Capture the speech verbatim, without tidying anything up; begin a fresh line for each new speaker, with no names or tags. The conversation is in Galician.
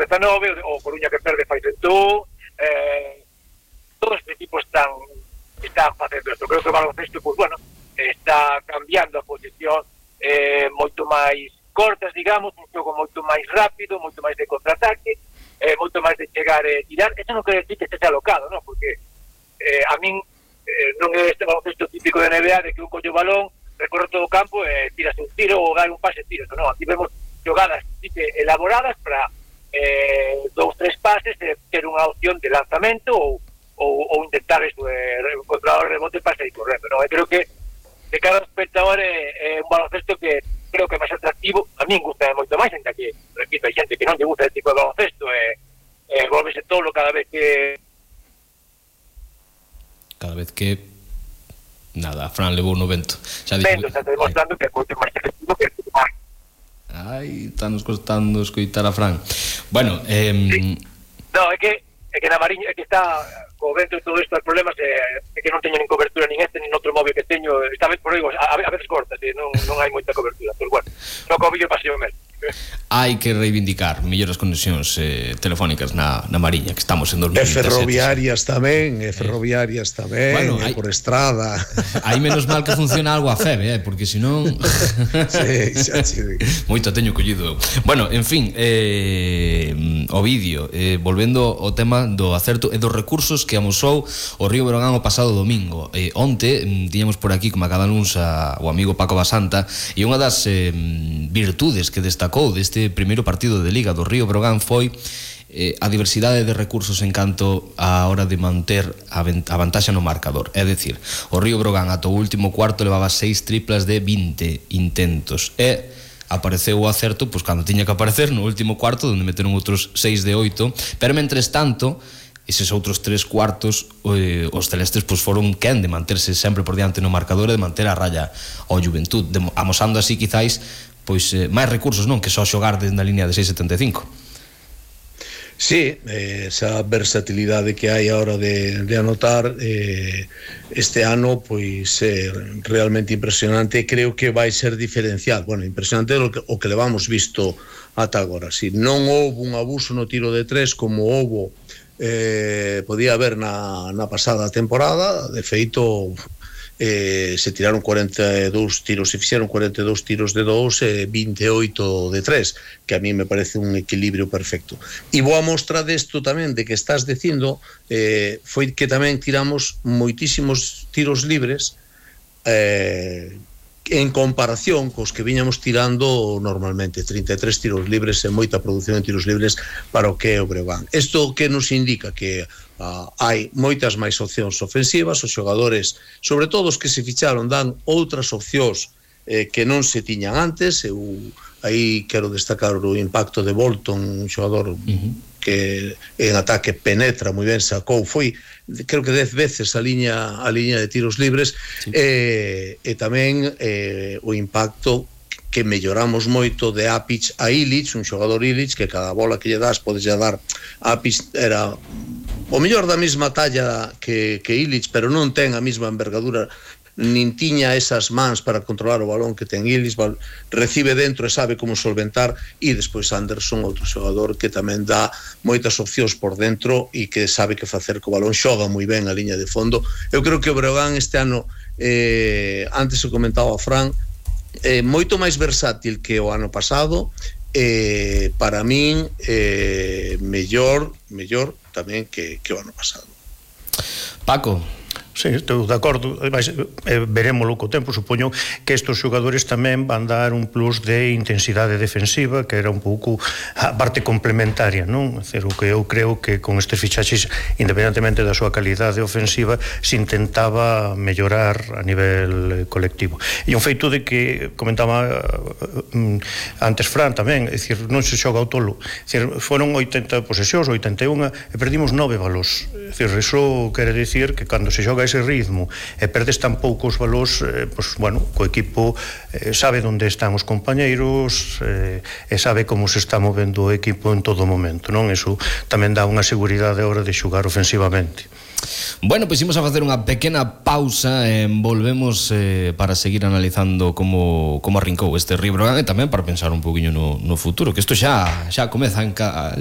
dezanove, o Coruña que perde fai cento un, eh, todos os equipos están están facendo isto. Creo que o baloncesto, pues bueno, está cambiando a posición eh, moito máis cortas, digamos, un xogo moito máis rápido, moito máis de contraataque, eh, moito máis de chegar e tirar. Eso non quere decir que este sea alocado, ¿no? Porque eh, a min eh, non é este baloncesto típico de N B A de que un coño balón, recorre todo o campo e eh, tirase un tiro ou gai un pase tiro. Non, aquí vemos xogadas elaboradas para eh, dous, tres pases e ter unha opción de lanzamento ou ou, ou intentar eso, eh, encontrar o rebote para sair correndo, non? Eu creo que de cada espectador é, é un baloncesto que creo que é máis atractivo. A min gusta moito máis, ainda que, repito, hai xente que non lle gusta ese tipo de baloncesto e eh, eh, volvese tolo cada vez que
cada vez que nada, Fran levou no vento. Xa
dixo, vento, está demostrando que é moito máis efectivo que é máis.
Ai, está nos costando escoitar a Fran. Bueno, eh...
sí. No, é que é que na Mariña, é que está co vento e todo isto, os problemas é, é que non teño nin cobertura nin este, nin outro móvil que teño, esta vez por aí, a, a veces corta, sí, non, non hai moita cobertura, pero bueno, no co vídeo paseo mesmo.
Hai que reivindicar mellores conexións eh, telefónicas na, na Mariña, que estamos en dos mil
E
diecisiete.
ferroviarias tamén, e ferroviarias tamén, bueno, hai, por estrada.
Hai menos mal que funciona algo a F E B, eh, porque senón
sí, xa, sí.
Moito teño collido. Bueno, en fin, eh, o vídeo, eh, volvendo ao tema do acerto e dos recursos que amosou o Río Breogán o pasado domingo. Eh, onte tiñamos por aquí, como a cada luns, a, o amigo Paco Basanta, e unha das eh, virtudes que destacou deste primeiro partido de Liga do Río Breogán foi eh, a diversidade de recursos en canto a hora de manter a, a vantaxa no marcador. É dicir, o Río Breogán ata o último cuarto levaba seis triplas de vinte intentos e apareceu o acerto pois cando tiña que aparecer no último cuarto, onde meteron outros seis de oito, pero mentres tanto eses outros tres cuartos eh, os celestes pois foron quen de manterse sempre por diante no marcador e de manter a raya ao Juventud, de, amosando así quizáis pois eh, máis recursos, non? Que só xogar desde na línea de seis setenta e cinco.
Sí, eh, esa versatilidade que hai a hora de, de anotar eh, este ano pois é eh, realmente impresionante e creo que vai ser diferencial. Bueno, impresionante o que, o que levamos visto ata agora. Si non houve un abuso no tiro de tres como houve eh, podía haber na, na pasada temporada, de feito Eh, se tiraron cuarenta e dous tiros, se fixeron cuarenta e dous tiros de dous e vinte e oito de tres, que a mí me parece un equilibrio perfecto. E boa mostra desto tamén, de que estás dicindo, eh, foi que tamén tiramos moitísimos tiros libres eh, en comparación cos que viñamos tirando normalmente, trinta e tres tiros libres e moita produción de tiros libres para o que é o Breogán. Isto que nos indica que Uh, hai moitas máis opcións ofensivas, os xogadores, sobre todo os que se ficharon, dan outras opcións eh, que non se tiñan antes. Eu aí quero destacar o impacto de Bolton, un xogador uh-huh. que en ataque penetra moi ben, sacou, foi creo que dez veces a liña a liña de tiros libres, sí. e, e tamén eh, o impacto que melloramos moito de Apic a Ilic, un xogador Ilic que cada bola que lle das podes lle dar. Apic era o mellor da mesma talla que, que Ilic, pero non ten a mesma envergadura, nin tiña esas mans para controlar o balón que ten Ilic, recibe dentro e sabe como solventar. E despois Anderson, outro xogador que tamén dá moitas opcións por dentro e que sabe que facer co balón, xoga moi ben a liña de fondo. Eu creo que o Breogán este ano, eh, antes se comentaba a Fran, é moito máis versátil que o ano pasado. Eh, para min eh, mellor mellor tamén que, que o ano pasado.
Paco.
Sí, estou de acordo, eh, verémolo co tempo. Supoño que estes xogadores tamén van dar un plus de intensidade defensiva, que era un pouco a parte complementaria, non? É o que eu creo que con estes fichaxes, independentemente da súa calidade ofensiva, se intentaba mellorar a nivel colectivo. E un feito de que comentaba um, antes Fran tamén, é dicir, non se xoga ao tolo. É dicir, foron oitenta posesións, oitenta e un, e perdimos nove balós. É dicir, iso quere dicir que cando se xoga ese ritmo e perdes tan poucos valores, eh, pues, bueno, co equipo eh, sabe onde están os compañeiros eh, e sabe como se está movendo o equipo en todo momento, non? Eso tamén dá unha seguridade a hora de xogar ofensivamente.
Bueno, pois imos a facer unha pequena pausa e volvemos eh, para seguir analizando como, como arrincou este Río Breogán e tamén para pensar un poquinho no, no futuro, que isto xa, xa comeza en ca,